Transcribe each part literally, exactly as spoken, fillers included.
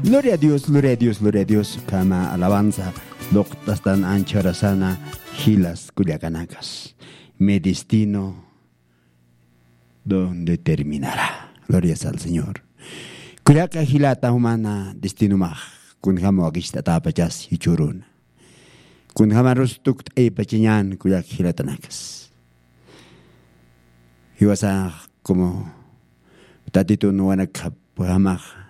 Gloria a Dios, gloria a Dios, gloria a Dios. Kama alabanza. Luqtastan anchorasana jilas kullakanakas. Mi destino donde terminará. Gloria al Señor. Kullaka jilata humana destinomax. Kunjama wakisht'atapachas jichuruna. Kunjamarus tukt'aypachañan kullak jilatanakas. Jiwasax como tatitun wanakjapjamax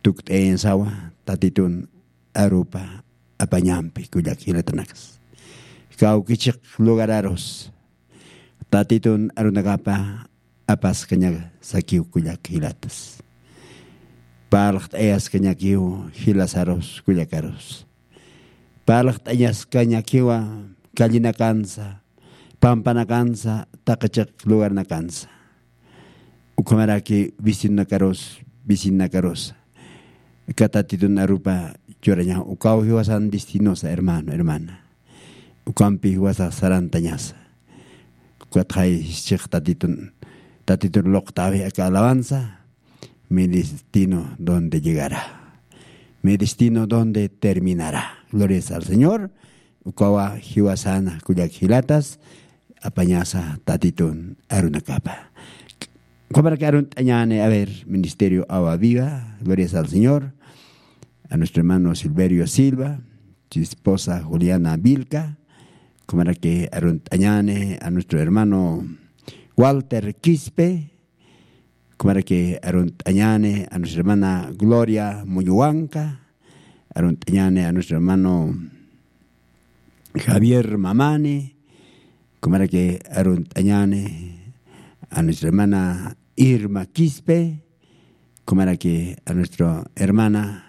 tukt'ayansawa tatitun arupa apañampi kullak jilatanakas. Kawkichiq lugararus tatitun arunakapa apaskañasakiw kullak jilatas. Parlaqt'ayaskañakiw jilasarus kullakarus. Parlaqt'añaskañakiwa kallinakansa, pampanakansa, taqichiq lugarnakansa. Ukhamaraki vecinonakarus, vecinanakarus katatitun arupa churaña ukaw jiwasan destinosa hermano hermana. Ukampi jiwasa sarantañasa. Ukatxay chiq tatitun tatitun luqtawi aka alabanza. Mi destino donde llegará. Mi destino donde terminará. Glorias al Señor. Ukawa jiwasana kullak jilatas apañasa tatitun arunakapa. Kumaraki arunt'añani a ver ministerio awa viva. Glorias al Señor. A nuestro hermano Silverio Silva, su esposa Juliana Vilca. Kumaraki arunt'añani a nuestro hermano Walter Quispe. Kumaraki arunt'añani a nuestra hermana Gloria Muñuwanca. Arunt'añani a nuestro hermano Javier Mamani. Kumaraki arunt'añani a nuestra hermana Irma Quispe. Kumaraki a nuestra hermana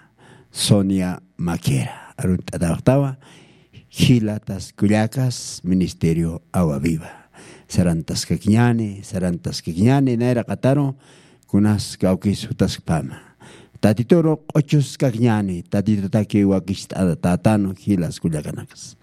Sonia Maquera arunt'ataxtawa. Jilatas kullakas ministerio awa viva. Sarantaskakiñani sarantaskakiñani nayraqataru kunas kawkis jutaskpama. Tatituru q'uchuskakiñani tatitutaki wakicht'atatanu jilas kullakanakas.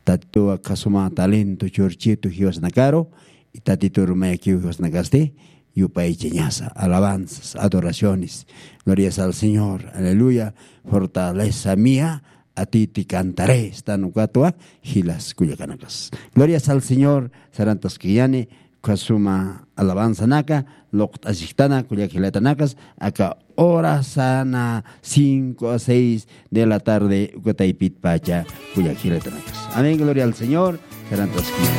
Tatituwa kasuma talento churchitu jiwasanakaru. Y tatituru mayakiw jiwasanakasti yupaychañasa alabanzas adoraciones. Glorias al Señor, aleluya. Fortaleza mía, a ti te cantaré. Stan ukatwa jilas kullakanakas. Glorias al Señor. Sarantaskiyani kasuma alabanzanaka luqt'asiktana kullak jilatanakas aka hora sana cinco a seis de la tarde ukataypitpacha kullak jilatanakas. Amén. Gloria al Señor. Sarantaskiyani.